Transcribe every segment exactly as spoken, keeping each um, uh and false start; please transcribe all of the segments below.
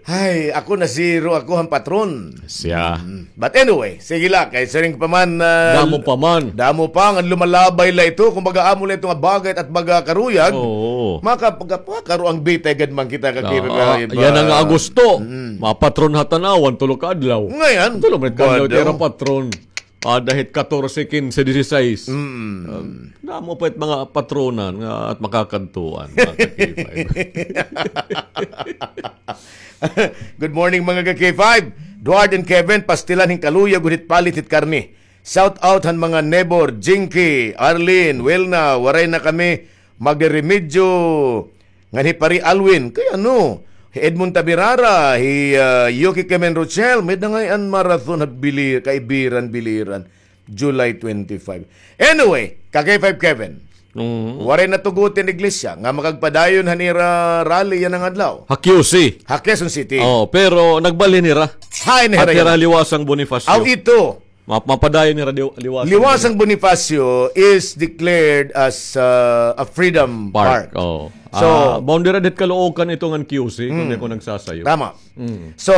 Ay, ako na zero ako han patron. Siya. Mm. But anyway, sige la, kay siring pa man, ah, damo pa man. Damo pa nga lumalabay la ito, kumbaga amo la ito nga bagay at baga karuyag. Oo. Maka-, pagka-, pagkakaroang bitay gad man kita ka. Oo, K five. Yana nga Agosto. Mm. Mapatron ha Tanauan, tulo ka adlaw. Ngayon, tulo ka adlaw, tira patron. Ah, dahil katorse, kinse, disisais. Mm. Um, damo pa it mga patronan nga at makakadtuan, mga ka-K five. Good morning, mga ka-K five. Duard and Kevin, pastilan hin kaluyag, gunit palit hit karne. Shout out han mga Nebor, Jinky, Arlene, Wilna, waray na kami magreremedyo. Ngan hi Pari Alwin, kay ano, hi Edmond Tabirara, hi, ah, Yuki Kemen Rochelle, may dangay an marathon ha Bili-, Kaibiran, Biliran, July twenty-five. Anyway, ka-K five Kevin, waray natugot an iglesia nga makagpadayon han ira rally yana nga adlaw. Ha Q C. Ha Quezon City. Oh, pero nagbalhin hira. Hain hira yana? Liwasang Bonifacio. Aw, ito. Ma-, mapadayon nira Liw-, Liwasang Bonifacio. Liwasang Bonifacio is declared as, uh, a freedom park. Park, oo. So, ah, boundary dit Caloocan ito ngan Q C, kung di ko nagsasayo. Tama. Mm. So,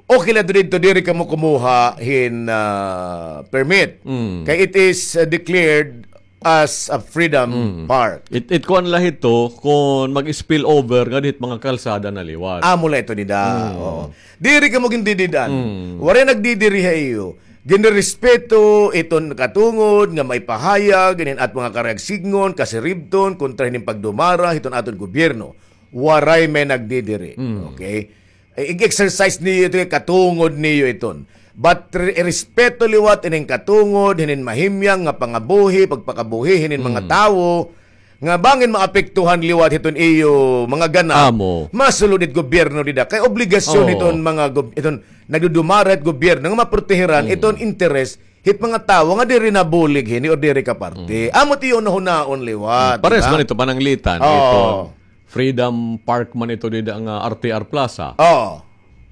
okay la didto, diri kamo kumuha hin, ah, permit. Mm. Kay it is, uh, declared as a freedom park. It, it kuan la hito, kung mag-spill over nga dit mga kalsada na liwat. Amo la ito dida. Mm. Oo. Diri kamo gindidid-an. Mm. Waray nagdidiri ha iyo. Ginrerespeto iton katungod nga maipahayag hinin aton mga karuyag sidngon, kasiribton, kontra hinin pagdumara hiton aton gobyerno. Waray may nagdidiri. Mm. Okay? Ig-exercise niyo ito, katungod niyo iton. But re-, respeto liwat inin katungod, hinin mahimyang nga pangabuhi, pagpakabuhi hinin mga tawo, nga bangin maapektuhan liwat hiton iyo mga ganap. Amo. Masulod it gobyerno dida. Kay obligasyon hiton mga gob-, hiton nagdudumara hit gobyerno nga maprotehiran iton interes hit mga tawo nga diri nabulig hini or diri kaparte. Amo it iyo nahunaon liwat, pares man ito pananglitan, ito. Freedom Park man ito dida nga R T R Plaza. Oo.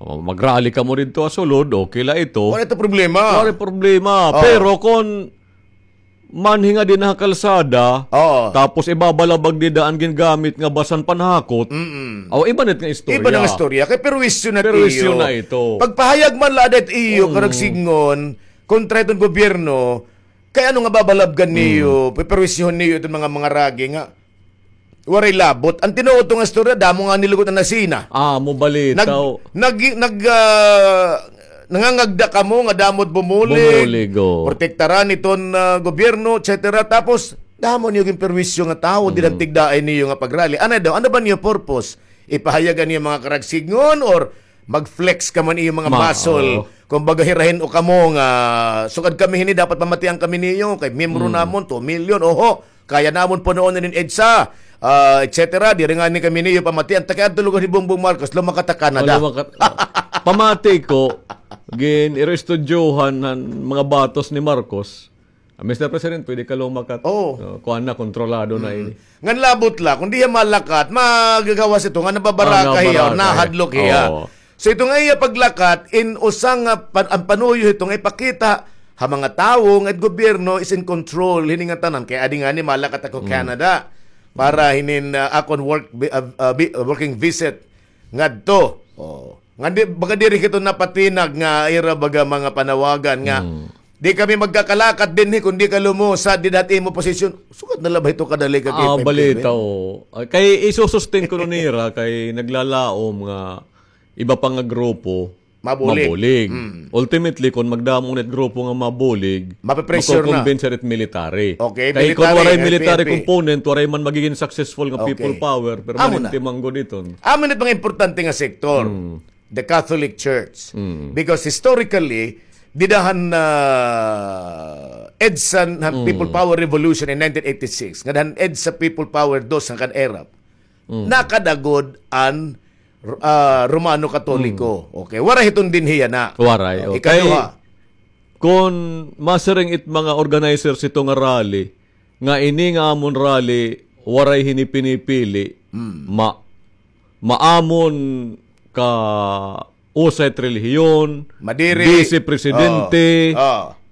O, mag-rally kamo didto ha sulod, okay la ito. Wala ito problema. Wala problema. Oo. Pero kon manhi nga dinha ha kalsada, tapos ibabalabag dida an gingamit nga basan panhakot, aw, iba na it nga istorya. Iba na nga istorya. Kay perwisyo na it iyo. Perwisyo na ito. Pagpahayag man la ada it iyo karuyag sidngon kontra hiton gobyerno, kay ano nga babalabgan niyo, peperwisyuhon niyo iton mga, mga rally nga waray labot. An tinuod to nga istorya, damo nga nilugot an nasina. Ah, amo balitaw. Nag-, nag-, nag-, ah, nangangagda kamo nga damo it bumulig. Bumulig, oo. Protektaran iton, ah, gobyerno, et cetera. Tapos, damo niyo ginperwisyo nga tawo, dida han tigdaay niyo nga pag-rally. Ano daw? Ano ba niyo purpose? Ipahayag an iyo mga karuyag sidngon or mag-flex kamo han iyo mga muscle? Kumbaga, hirahin-o kamo nga, sugad kami hini, dapat pamatian kami niyo, kay miyembro namon, two million, oho, kaya namon punoon inin EDSA, ah, et cetera. Diri ngani kami niyo pamatian, ta kay adto lugod hi Bongbong Marcos, lumakat ha Canada. Oh, lumakat. Pamati ko, gin-irestudyohan han mga batos ni Marcos. Ah, Mister President, pwede ka lumakat. Oo. Oh, kuan na, kontrolado na ini. Ngan labot la, kon di hiya malakat, magagawas ito nga nababaraka hiya, nahadlok hiya. Oo. So, ito nga iya paglakat, in usa nga pan-, an panuyo hito nga ipakita ha mga tawo nga it gobyerno is in control hini nga tanan. Kay adi ngani, malakat ako Canada para hinin, ah, akon work, bi-, ah, ah, bi-, ah, working visit ngadto. Oh. Nga di, baga diri kito napatinag nga ira baga mga panawagan nga, "Di kami magkakalakat dinhi kon di ka lumusad dida ha imo posisyon." Sugad na la ba ito kadali ka, ah, K five Kevin? Balitaw. Ah, kay isusustain kuno nira kay naglalaom nga iba pa nga grupo mabulig. Mabulig. Mm. Ultimately, kon magdamo na it grupo nga mabulig, mape-pressure na. Makukumbinse it military. Okay, kay kon military, waray military component, waray man magiging successful nga people power, permanente man gud iton. Amo na it mga importante nga sektor, the Catholic Church. Mm. Because historically, dida han, ah, EDSA han People Power Revolution in nineteen eighty-six, ngada han EDSA People Power dos han kan ERAP. Mm. Nakadagod an, ah, Romano Katoliko. Mm. Okay, waray hiton dinhi yana. Waray, oh, okay. Ikaduha. Kon masiring it mga organizers hito nga rally, nga ini nga amon rally, waray hini pinipili, ma-, maamon ka usa it relihiyon, madiri, vice presidente,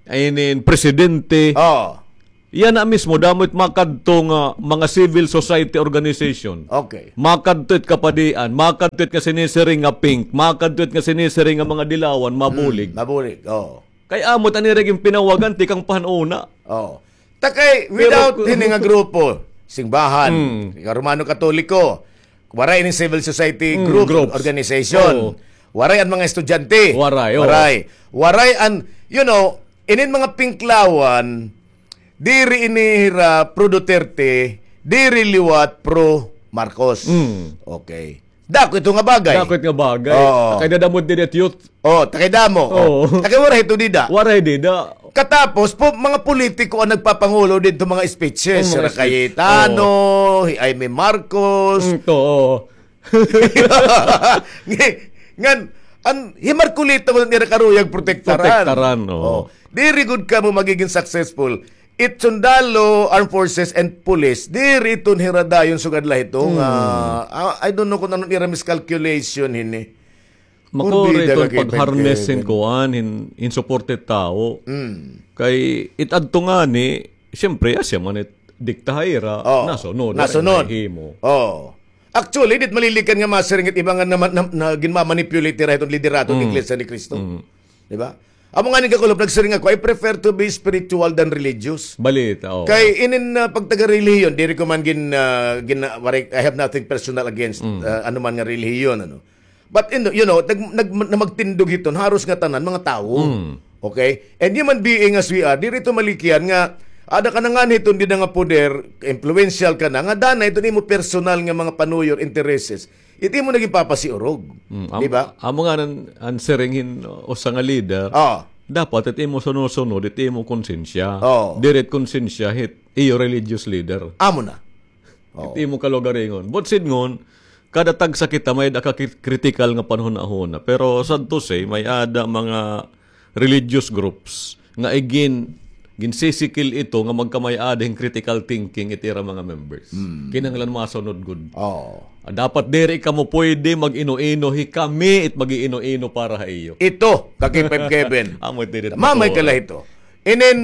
inin presidente. Oh. Yana mismo, damo it makadto nga mga civil society organization. Okay. Makadto it kapadian, makadto it nga sinisiring nga pink, makadto it nga sinisiring nga mga dilawan, mabulig. Mm, mabulig, oo. Kay amo it an ira ginpinawagan, tikang pa han una. Oo. Ta kay, pero without ku- hini nga grupo, simbahan, Mm. Romano Katoliko, waray ini civil society Mm, group, groups. Organization. Oo. Waray an mga estudyante. Waray, oo. Waray. Waray an, you know, inin mga pinklawan, diri ini hira pro Duterte, diri liwat pro Marcos. Mm. Okay. Dako ito nga bagay. Dako ito nga bagay. Oo. Kay dadamod din it youth. Oh, ta kay damo. Oo. Oh. Ta kay waray ito dida. Waray dida. Katapos po, mga politiko an nagpapangulo didto mga speeches. Oh, mga Sir speech. Cayetano, Oo. Hi Imee Marcos. Mm, to, oo. Ngan, an, hi Marcoleta man nira karuyag protektaran. Protektaran, oo. Oh. Diri gud kamo magiging successful. It sundalo, armed forces, and police, diri iton hira dayon sugad la hito nga, Hmm. ah, I don't know kung ano ira miscalculation hini. Makuri Porbida iton ka, Kevin, pag-harness hin Kevin. Kuan, hin, hin suporte tawo. Mm. Kay it adto ngani, siyempre, asya man it dikta ha ira, Oh, nasunod, nasunod. Wala na himo. Oh. Actually, dit malilikan nga masiring it iba nga na, na, na, ginmamanipulate nira iton liderato ng Mm. Iglesia ni Cristo. Mm. Di ba? Amo nga ni Kakulop, nagsiring ako, "I prefer to be spiritual than religious." Balita, oo. Kay inin, ah, pagtaga-relihiyon, diri ko man gin, ah, gin, ah, waray, I have nothing personal against, Mm. ah, anuman nga relihiyon, ano. But, in, you know, nag, nag, na magtindog hiton, haros nga tanan, mga tawo. Mm. Okay? And human being as we are, diri to malikyan nga, ada ka na nga hiton, di na nga poder, influential ka na, nga dana iton imo personal nga mga panuyo or intereses. It imo naging papasiurog. Mm, am-, Di ba? Amo nga nan, an siring hin, uh, usa nga leader, Ah. dapat it imo sunusunod, it imo konsensya. Oh. Diri it konsensya, hit iyo religious leader. Amo na. Oh. It imo kalugaringon. But sidngon, kada tagsa kita may-ada ka kri-, critical nga panhunahuna. Pero sad to say, may-ada mga religious groups nga igin-, ginsisikil ito nga magkamay-ada hin critical thinking it ira mga members. Mm. Kinahanglan masunod gud. Oo. Ah, dapat diri kamo pwede mag-ino-ino, hikami it mag-iino-ino para ha iyo. Ito, kakipay Kevin. Amo it diri Mamay matuwa. Ka la ito. Inin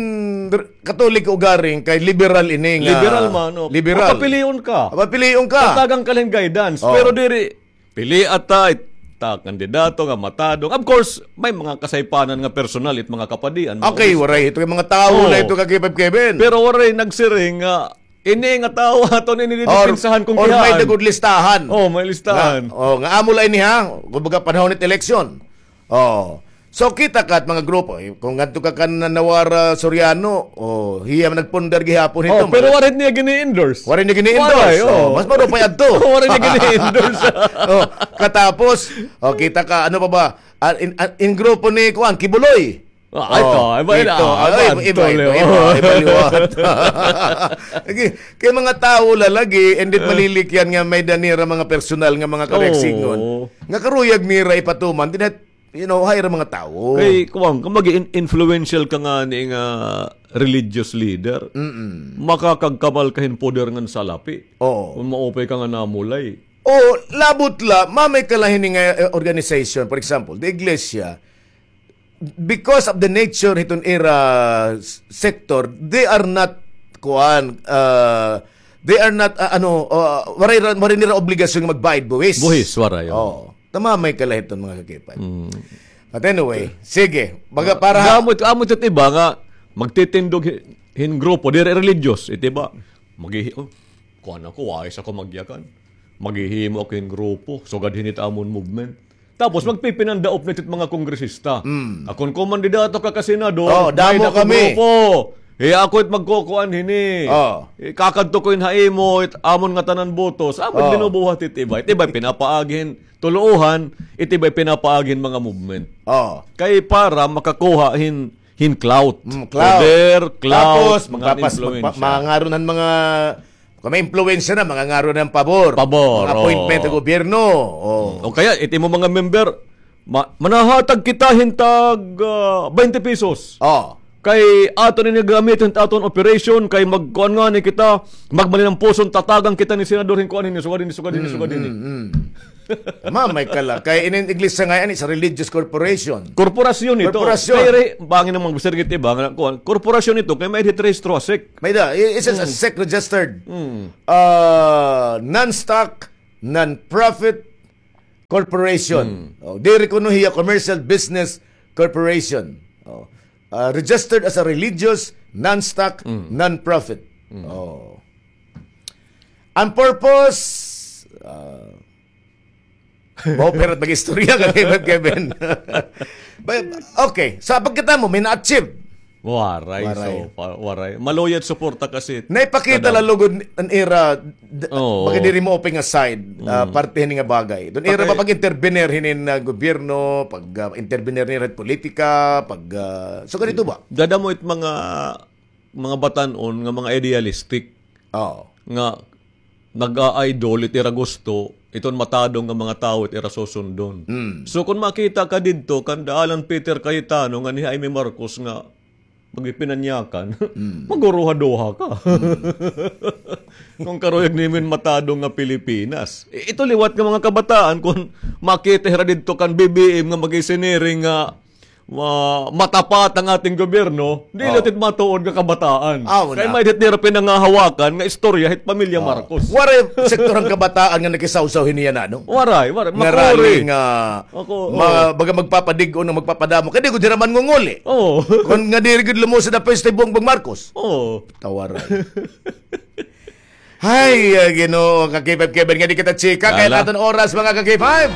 r-, Katoliko ugaring kay liberal ini nga Liberal man, oh. Liberal. Papilion ka. Papilion ka. Tatagan ka lang guidance. Oh. Pero diri, pili ata, it-, ta kandidato nga matadong. Of course, may mga kasaypanan nga personal, it mga kapadian, mga Okay, obispo. Waray ito kay mga tawo Oo. Na ito, kakipay Kevin. Pero waray nagsiring nga, ini nga tawo aton ini Or, didipinsahan kung or may kihaan. Dagod listahan. Oh, may listahan. Nga, oh, nga amo la ini ha, kumbaga panahon it eleksyon. Oh. So, kita ka it mga grupo, eh, kung ngadto ka kan Nawara Soriano, oh, hiya man nagpundar gihapon Oh, hito, pero wala. Waray niya gini-endorse. Waray niya gini-endorse. Waray, oh. Oh, mas marupay adto. Waray niya gini-endorse. Oh, katapos, oh, kita ka, ano pa ba? Ah, in, ah, in grupo ni, kuan, Kibuloy. Ah, ito, Oh, iba yun, ito. Ah, Ay, iba, iba, iba, ito, iba, iba, oh. Iba liwat. Lagi, kay mga tawo la lagi, and it Ah. Malilikyan nga may-ada nira mga personal nga mga kareksingon. Oo. Nga karuyag nira ipatuman, dinat you know, ha ira mga tawo. Kay, kuwan, kung mag-in-, influential ka ngani nga religious leader, Mm-mm. Makakagkamal ka hin poder ngan salapi. Oo. Kung maupay ka nga namulay. O, labot la, mamay ka la hini nga, eh, organization, for example, the iglesia, because of the nature hiton ira s-, sector, they are not, kuwan, uh, they are not, uh, ano, uh, waray ra-, waray nira obligasyon nga magbayad buhis. Buhis, waray, oo. Oo. Tamamay ka la hiton, mga kakipay. Mm. But anyway, sige. Baga para Amo it, amo it iba nga magtitindog hi-, hin grupo, diri religious, it iba. Maghihi-, oh, kuan ako, wais ako magyakan. Maghihimo ako hin grupo, sugad hini it amon movement. Tapos magpipinandaop na it mga kongresista. Mm. Akon kumandidato ka ka senador, Oh, damo may dako kami. Grupo. Eh, ako it magkukuan hini. Oh. Eh, kakadto ko hin ha imo, it amon ngatanan botos. Amo it Oh. Binubuhat it iba. It iba pinapaagi hin tuluohan, it iba pinapaagi hin mga movement. Oh. Kay para makakuha hin, hin clout. Mm, clout. Poder, clout, Tapos, mga magpapas-, influensya. Magpa-, mangaron han mga, kung may influensya na, mangangaro ng pabor. Pabor, Mga appointment oo. Sa gobyerno. Oo. O kaya, it imo mga member, ma-, manahatag kita hin tag, ah, twenty pesos. Oo. Kay aton ini gamit hin aton operation, kay magkuan ngani kita, magmalinampuson, tatagan kita ni senador hin kuan hini, sugad hini, sugad hini, Mm, sugad hini. Mm, mm. Mamay ka la. Kay inin iglesia ngay-an, it's a religious corporation. Korporasyon ito. Korporasyon. Kay re-, bangin naman, sir, kit iba nga, kuan, korporasyon ito, kay may hit rehistro ha sek. May da, i-, it's a sek registered. Mm. Ah, non-stock, non-profit corporation. Mm. Oh, diri kuno hiya commercial business corporation. Oh. Ah, registered as a religious, non-stock, non-profit. Mm. Oh. Ang purpose, ah, Maupay hit mag-istorya ka, Kevin, Kevin. Ba-, okay, sa pagkita mo, may na-achieve. Waray, waray. So, pa-, waray. Maluyad suporta kasi. Naipakita la lugod an ira, d-, oo, baga diri mo open nga side, ah, parte hini nga bagay. Dun ira ba pag-intervenir hinin, ah, gobyerno, pag, ah, intervenir nira hit politika, pag, ah, so ganito ba? Dada mo it mga, mga batan-on nga mga idealistic. Oo. Nga nag-a-idol it ira gusto, iton matadong nga mga tawo it ira susundon. Mm. So, kon makita ka didto kan Alan Peter Cayetano ngan hi Imee Marcos nga magipinanyakan, maguruha-duha ka. Kon karuyag nimo hin matadong nga Pilipinas. I-, ito liwat nga mga kabataan, kon makita hira didto kan B B M nga mag-isiniring nga ma-, matapat ang ating gobyerno, dili hit matuod nga kabataan. Aw, kay na. May hit nira pinangahawakan nga istorya hit pamilya Marcos. Waray sektor han kabataan nga nakisawsaw hini yana, no? Waray, waray. Nga rally nga ma-, baga magpapadig-on o magpapadamo. Kay di gud hira mangunguli. Oo. Kon nga diri gud lumusad an pwesto hi Bongbong Marcos. Oo. Tawaran. Hay, ah, Ginoo, ka-K five Kevin, nga di kita chika, kay an aton oras, mga ka-K five.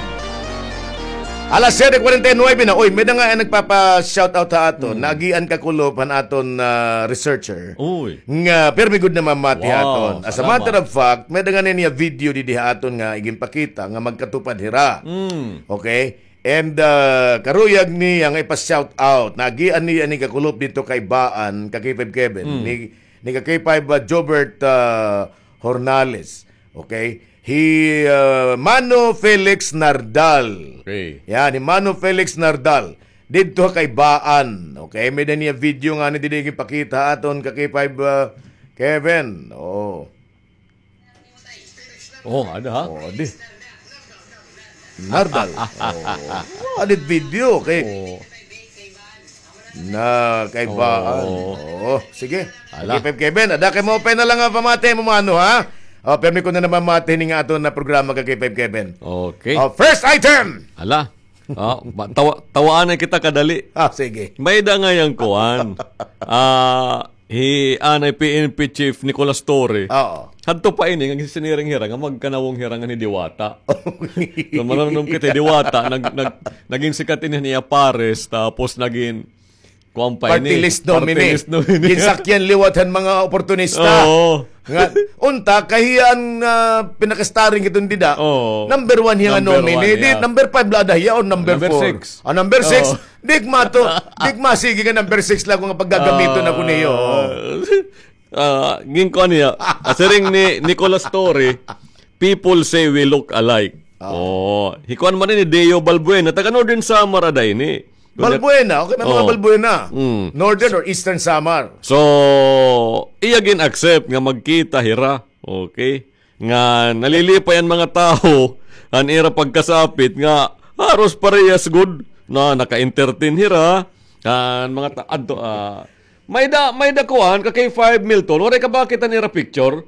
Alas siyete kuwarenta y nuwebe na. Oy, may da nga, eh, nagpapa-shoutout ha aton. Naagian kakulop han aton, ah, researcher. Uy. Nga, pirmi gud na mamati ha aton. Wow, salamat. As a matter of fact, may da nga niya video didi ha aton nga iginpakita nga magkatupad hira. Mm. Okay? And, ah, karuyag niya nga ipa-shoutout. Naagian niya ni kakulop didto kay Baan, ka-K five Kevin. Mm. Ni ni ka-K five, ah, Jobert, ah, Hornales. Okay? Hi, ah, Mano Felix Nardal. Okay. Yan, hi Mano Felix Nardal. Didto ha kay Baan. Okay? May da niya video nga ni didi ipakita ha aton ka-K five, ah, Kevin. Oo. Oh, ada ha? Oh, di. Nardal. Oh. Adit video kay na kay Baan. Oo. Oo, sige. Ala. K five Kevin, ada kay maupay na la nga pamati mo, mano, ha? Oh, pirmi ko na naman mati hini nga aton nga programa ka-K five Kevin. Okay. Oh, first item. Ala. Oh, ma-, tawa-, tawaanay kita kadali. Ah, sige. May da nga yang kuan. Ah, Hi anay P N P Chief Nicolas Torre. Oo. Hadto pa ini nga ginsiniring hira nga magkanawong hira ngan hi Diwata. So, marunong kita hi Diwata, nag-, nag-, nagin sikat ini han iya pares, tapos nagin, kuan pa ini, party list nominee. Party list nominee. Ginsakyan liwat han mga oportunista. Oo. Nga, unta, kay hiya an, ah, pinaka-starring iton dida. Oo. Number one hiya nga nominee. Number one hiya. Di, number five la ada hiya or number four? Number six. Ah, number six. Oo. Di ko mato-, di ko masigi nga number six la ko nga paggagamiton ako niyo. Ah, ginkuan niya. Siring ni Nicolas Torre, "People say we look alike." Ah. Oh, hi kuan man ini, Deo Balbuena, taga Northern Samar ada ini. Balbuena, okay, may mga Balbuena. Mm. Northern or Eastern Samar. So, iya gin-accept nga magkita hira. Okay. Nga nalilipay an mga tawo, an ira pagkasapit nga haros parehas gud na naka-entertain hira, an mga ta-, adto, ah, may da, may da kuan, ka K five Milton, waray ka ba kita nira picture?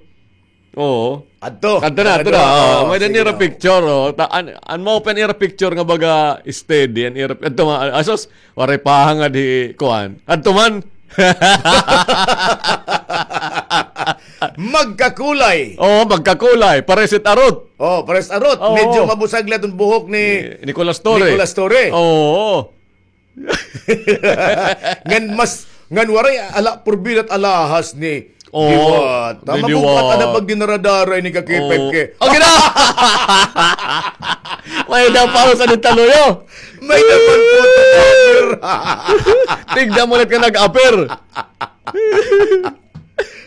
Oo. Adto. Adto na, adto na. Oo, may da nira picture, oh. Ta-, an, an mao pa an ira picture nga baga steady, an ira, adto ma-, asos, Waray pa hangad hi kuan. Adto man. Magkakulay. Oo, magkakulay. Pares it arot. Oh, pares arot. Oo. Medyo mabusag la iton buhok ni Nicolas Torre. Nicolas Torre. Oo. Ngan mas, ngan waray ala, purbida't alahas ni Diwata. Magupat ada pag dinaradara ini ka K five K. Okay na! May daw pa sa ni Taluyo. May daw pa po. Tignan mo ulit ka nag-appear.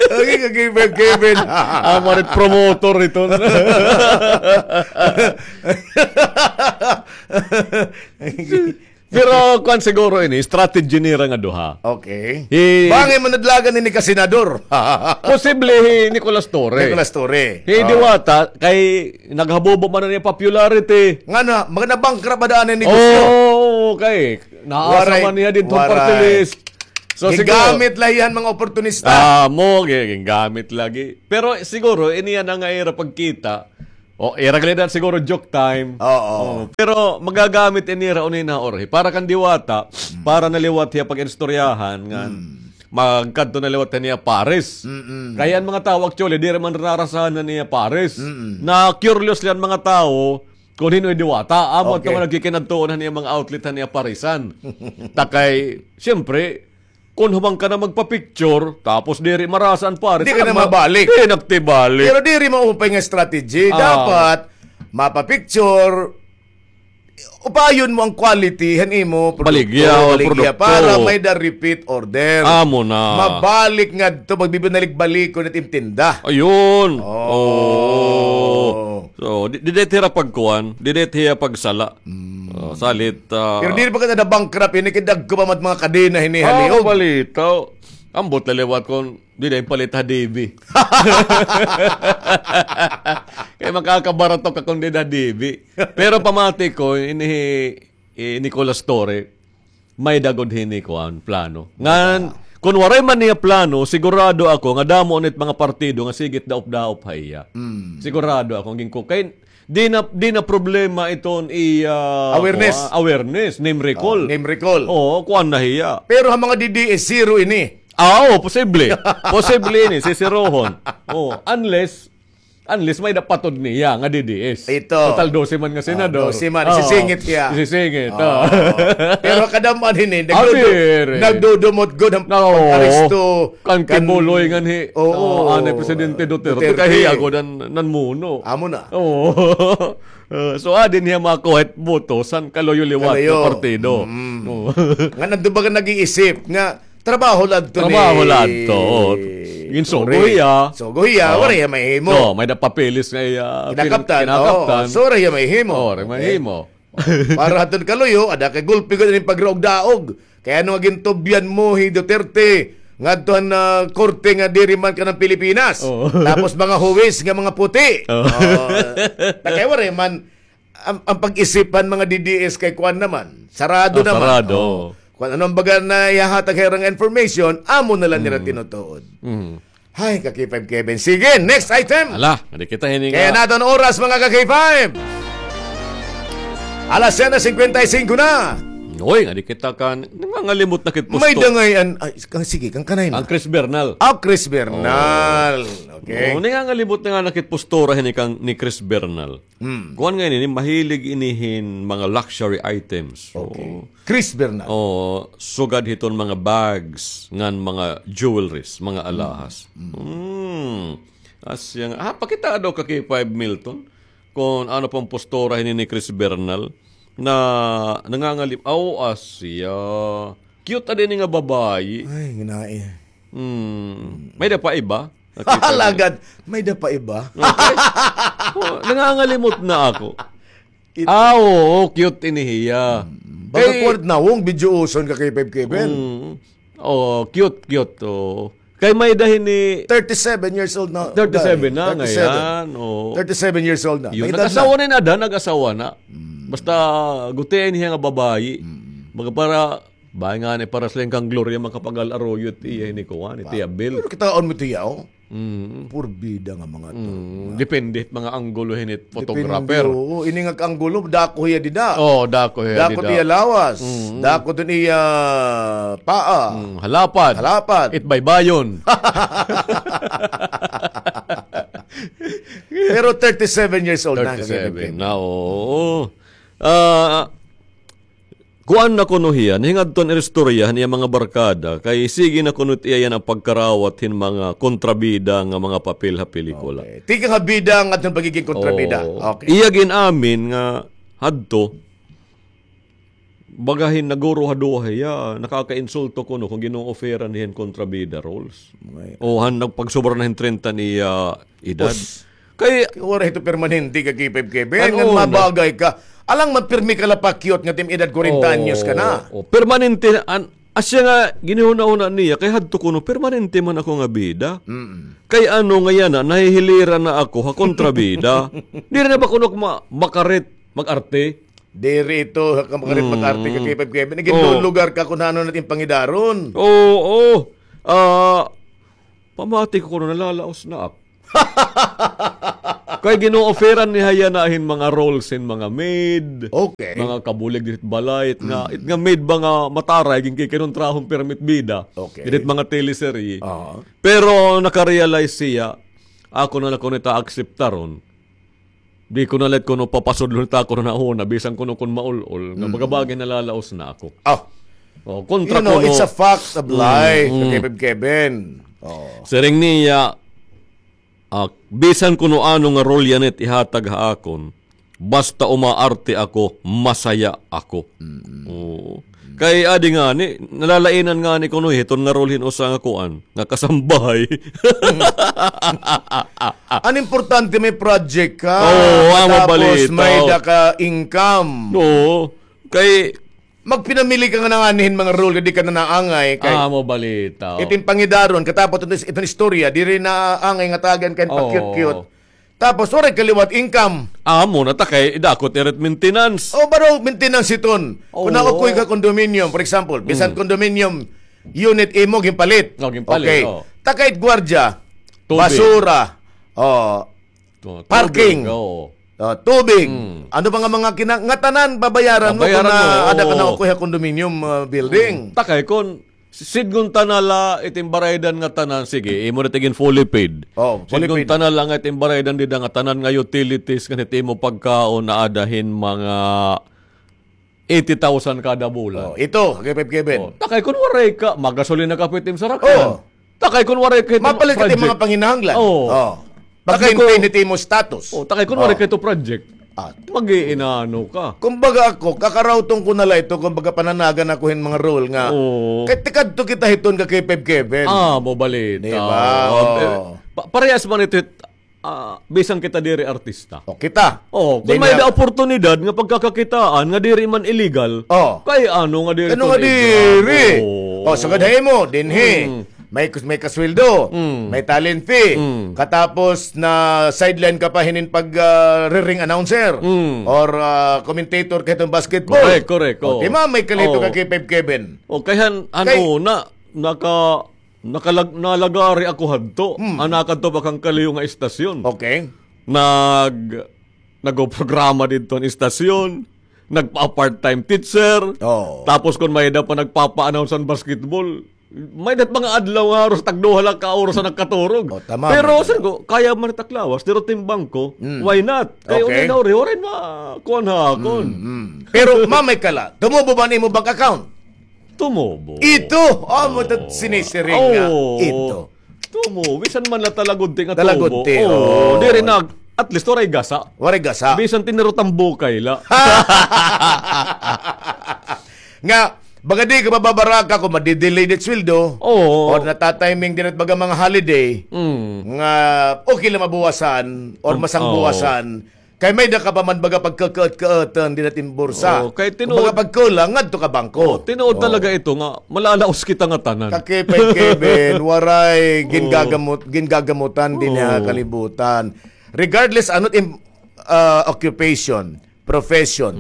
Okay, ka K five Kevin. Ah, marit promotor ito. Pero kuan siguro ini, strategy nira nga duha. Okay. Hi Bangin manadlagan ini ka senador. Posible hi Nicolas Torre. Nicolas Torre. Hi Diwata, kay naghabubo man an iya popularity. Ngano, mga na-bankrupt ba daan an negosyo? Oo, kay naasa man niya didto party list. So, siguro, gingamit la hiya han mga oportunista. Amo, gi-, gingamit lagi. Pero siguro, ini yana nga ira pagkita, o, ira gali na siguro joke time. Oo. Oo. Pero magagamit ini ra uni na, Jorge. Para kan Diwata, para na liwat hiya pag-istoryahan, nga magkadto na liwat hiya Paris. Mm-mm. Kay an mga tawo, actually, diri man nararasahan na niya Paris. Mm-mm. Na-curious la an mga tawo kon hin-o hi Diwata. Amo adto nga nagkikinadtuon han iya mga outlet han iya Parisan. Ta kay, siyempre, kon human ka na magpa-picture, tapos diri marasa an Paris, di ka na mabalik. Di na tibalik. Pero diri maupay nga strategy. Dapat, mapa-picture, upayon mo an quality han imo produkto, baligya, baligya, produkto, para may-ada repeat order. Amo na. Mabalik ngadto, magbibinalik-balikon it im tinda. Ayun. Oo. Oo. So, di, diri hira pagkuan, diri hira pagsala. Mm. Oh, salit, ah. Pero diri pa ka na-bankrupt ini, kay dagko pa man mga kadena hini ha liog. Balita. Ambot la liwat kon diri palit ha D B. Kay makakabarato ka kon diri ha D B. Pero pamati ko, ini, eh, Nicolas Torre, may-ada gud hini kuan, plano. Ngan, kon waray man niya plano, sigurado ako nga damo nit mga partido nga sige it daop-daop ha iya. Mm. Sigurado ako, ginko. Kay, di na, di na problema iton iya, awareness, kuan, awareness, name recall. Oh, name recall. Oo, kuan na hiya. Pero ha mga D D S, zero ini. Ah, oo, posible. Posible ini, sisirohon. Oh, unless, unless may-ada patod niya nga D D S. Ito. Total dose man nga senador. Oh, dose man. Oo. Isisingit hiya. Isisingit, oo. Pero kadam-an hini, nagdudu-, nagdudumot gud an pag-aresto kan Quiboloy nganhi. Oo. Anay Presidente Duterte. Duterte. Kay hiya gud an nanmuno. Amo na. Oo. Uh, so, adi niya makuha it boto san kalayo liwat nga partido. Mm. Oo. Ngan adto ba nga nag-iisip nga trabaho la adto ni, trabaho la adto. Ginsugo hiya. Sugo hiya, waray hiya mahimo. So, may-ada papeles nga iya kinakaptan. Kinakaptan. So, waray hiya mahimo. Oo, waray mahimo. Para hadton kalayo, ada kay gulpi gud ini pagraog-daog. Kay ano nga gintubyan mo hi Duterte ngadto han, ah, korte nga diri man kanan Pilipinas. Oo. Tapos mga huwis nga mga puti. Oo. Oo. Ta kay waray man, ang, ang pag-isip han mga D D S kay kuan naman. Sarado naman. Sarado. Oo. Kon ano an baga nga ihahatag ha ira nga information, amo na la nira tinutuod. Mm. Hay, ka K five Kevin. Sige, next item. Ala, adi kita hini nga. Kay an aton oras, mga ka K five. Alas siyete singkwenta y singko na. Uy, adi kita kan, nangangalimot na kit postura. May-ada ngay-an, ay, kang, sige, kang kanay na. Ang Chris Bernal. Ah, Chris Bernal. Okay. Oo, nangangalimot na nga na kit postura hini kang ni Chris Bernal. Hmm. Kuan ngay-an ini, mahilig ini hin mga luxury items. Okay. Oo. Chris Bernal. Oo, sugad hiton mga bags ngan mga jewelries, mga alahas. Hmm. Asya nga, ah, pakita daw ka K five Milton kon ano pa an postura hini ni Chris Bernal na nangangalim-, aw, asya. Cute adi ini nga babayi. Ay, ginae. Hmm. May-ada pa iba? Nakita niyo? Alagad, may-ada pa iba? Okay. Oh, nangangalimot na ako. Ah, oo, cute ini hiya. Mm. Baga kuan, nawong, video uson ka kay Five Kevin. Mm. Oh, cute, cute, oo. Kay may-ada hini thirty-seven years old na. Thirty-seven na, thirty-seven. Ngayon, oo. Thirty-seven years old na. Yun, may edad na. Nag-asawa na ini, ada, nag-asawa na. Mm. Basta, gutiay niya nga babayi. Mm. Baga para, Bahay ngani para sila kang Gloria Macapagal Arroyo, it iya hini kuan, it iya bill. Pero kitaon mo it iya, oh. Mm. Purbida nga mga to. Mm. Depende it mga anggulo hini it photographer. Depende, oo. Ini nga anggulo, dako hiya dida. Oh, dako hiya dida. Dako it iya lawas. Mm. Dako it iya paa. Mm, halapad. Halapad. It baybayon. Pero thirty-seven years old na. Thirty-seven na, oo. Ah, Kuan na kuno hiya, nahingadto an istorya han iya mga barkada, kay sige na kuno it iya yana pagkarawat hin mga kontrabida nga mga papel ha pelikula. Okay. Tikang ha bida ngadto han pagiging kontrabida. Oo. Okay. Iya gin-amin nga hadto, baga hin naguruhaduha hiya, nakakainsulto kuno kon gin-o-offeran hiya hin kontrabida roles. May- O han nagpagsubra na hin treinta an iya edad. Us. Kay, kay waray ito permanente ka K five Kevin. Ano ngan na? Mabagay ka. Alang man pirmi ka la pa-cute nga tim edad kwarenta anyos ka na. Oo, permanente na, an, asya nga ginihunahuna niya, kay hadto kuno, permanente man ako nga bida. Mm. Kay ano nga yana, nahihiliran na ako, ha kontrabida. Diri na ba kuno ma-, makarit, mag-arte? Diri ito, ha, makarit, mag-arte ka, K five Kevin. Naging lugar ka kung ano natin pangidaron. Oo, oo. Ah, pamati ko kuno, nalalaos na ako. Kay gino-offeran ni haya na hin mga roles hin mga maid, okay, mga kabulig didit balay, it nga, it nga maid ba nga mataray, ginkikinontrahon permit bida. Okay. Didit mga teleserye. Aha. Pero nakarealize siya, ako na la kuno it akseptaron. Di ko na la it kuno papasudlon it ako na nauna, bisan kuno kun maul-ol, nga bagabagi nalalaos na ako. Oh. Oh, kontra kuno. You know, it's a fact of life, Kevin. Oh. Siring niya, ah, bisan kuno ano nga role yana it ihatag ha akon, basta umaarte ako, masaya ako. Oo. Kay adi ngani, nalalainan ngani kuno hiton nga role hin usa nga kuan, nga kasambahay. An importante may project ka, oo, tapos may da ka income. Oo. Kay magpinamili ka nga nanganihin mga role nga di ka na naangay kay amo balita. Itin pangidaron, katapos iton, iton istorya, diri na angay nga tagan kay pa-cute-cute. Tapos, waray ka liwat income. Amo na ta kay dako it ira it maintenance. O, baro maintenance iton. Kun nakukoy ka condominium, for example, bisan condominium unit imo ginpalit. O, ginpalit, okay. Takay it gwardiya, basura, o, parking, o, tubig. Ano pa nga mga kina-, ngatanan babayaran mo kun ada ka nakukoy ha condominium, ah, building. Takay kun sidngon ta na la itin baraydan nga tanan, sige, imo na tigin fully paid. Oh, fully paid. Sidngon ta na la nga itin baraydan dida nga tanan nga utilities, ngan it imo pagkaon, naada hin mga eighty thousand kada bulan. Oh, ito, Kevin, Kevin. Oh, takay kun waray ka, magasolina ka pa itim sarakan. Oh. Takay kun waray ka itim project. Mapalit ka itim mga panginahanglan. Oh. Pag-maintain it imo status. Oh, takay kun waray ka ito project. Mag-iinano ka. Kumbaga ako, kakarawton ko na la ito, kumbaga pananagan ako hin mga role nga. Oo. Kay tikadto kita hiton ka K five Kevin. Ah, mo balita. Di ba? Oo. Pa-, parehas man ito, ah, bisan kita diri artista. O, kita. Oo, kun may da oportunidad nga pagkakakitaan nga diri man illegal, kay ano nga diri? Ano nga diri? Oo. O, sugad ha imo, dinhi. May kus-, may kasweldo, may talent fee, katapos na-sideline ka pa hinin pag, ah, ring announcer or, ah, commentator ka hiton basketball. Correct, correct. O, di ba, may kalito ka K five Kevin. O, kay han, han una, naka-, nakalag-, nalagari ako hadto. An nakadto pa kan kaliyo nga istasyon. Okay. Nag-, nagprograma didto an istasyon. Nagpa-part-time teacher. Oo. Tapos kun may da pa nagpapa-announce an basketball, may dat mga adlaw nga haros tagduha la ka oras an nagkaturog. O, tama. Pero sabi ko, kaya man it ak lawas, pero timbang ko, why not? Kay okay. Unay na uri, uri ma-, kuan ha akon. Pero mamay ka la, tumubo ba an imo bank account? Tumubo. Ito, amo ito sinisiring nga. Ito. Tumo, bisan man la talagudti nga tubo. Talagudti, oo. Diri na, at least, waray gasa. Waray gasa. Bisan tinirot an bukay la. Nga, baga di ka mababaraka kun madi-delay it sweldo, or natatiming diri it baga mga holiday, nga okay la mabawasan or masangbawasan, Kay may da ka pa man baga pagkakaat-kaatan dida it im bursa. Oo, kay tinuod. Kumbaga pagkulang, ngadto ka bangko. Oo, tinuod talaga ito nga, malalaos kita ngatanan. Ka Kevin, Kevin, waray gingagamot-, gingagamutan dinhi ha kalibutan. Regardless ano it im, ah, occupation, profession,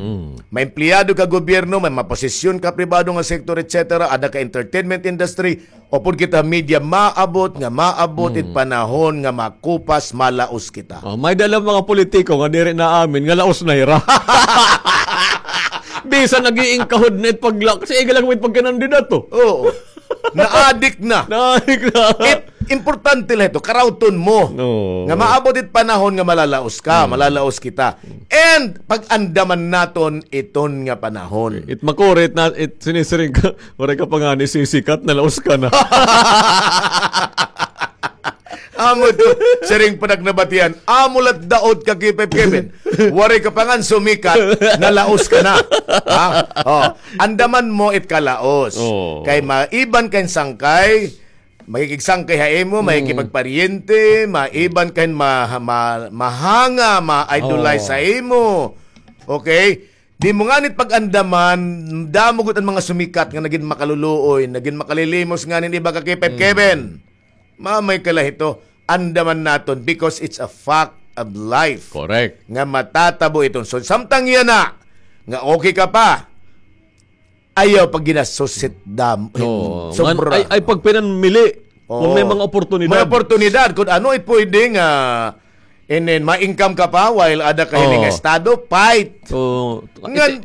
may empleyado ka gobyerno, may maposisyon ka pribado nga sektor, et cetera, ada ka entertainment industry, Upod kita media, maabot nga maabot it panahon nga makupas, malaos kita. Oh, may-ada la mga politiko nga diri naamin nga laos na hira. Bisan nag-iingkahod na it pagla-, kasi iga lang it pagkanandidato. Oo. Naadik na. Naadik na. It, importante la ito, karawton mo. Oo. Nga maabot it panahon nga malalaos ka, malalaos kita. And pag-andaman naton iton nga panahon. It makuri it na, it sinisiring ka, waray ka pa ngani sisikat, nalaos ka na. Amo to, siring pa nagnabatian, amo la it daot ka, Kevin. Waray ka pa ngani sumikat, nalaos ka na. Ha? Oh, andaman mo it kalaos. Oh. Kay maiban ka hin sangkay, makikigsangkay ha imo, makikipagparyente, maiban ka hin ma-, ma-, mahanga, ma-idolize ha imo. Okay? Di mo nganit pag-andaman, damo gud an mga sumikat nga nagin makaluluoy, nagin makalilimos nganit iba ka K five Kevin. Mamay ka la hito, andaman naton because it's a fact of life. Correct. Nga matatabo iton. So, samtang yana, nga okay ka pa, ayaw pag ginasusit dam. Oo. Sobra. Ay, ay pagpinanmili. Kung may mga oportunidad. May oportunidad. Kung ano it pwede nga, and then, ma-income ka pa while ada ka hini nga estado, fight. Oo. Ngan,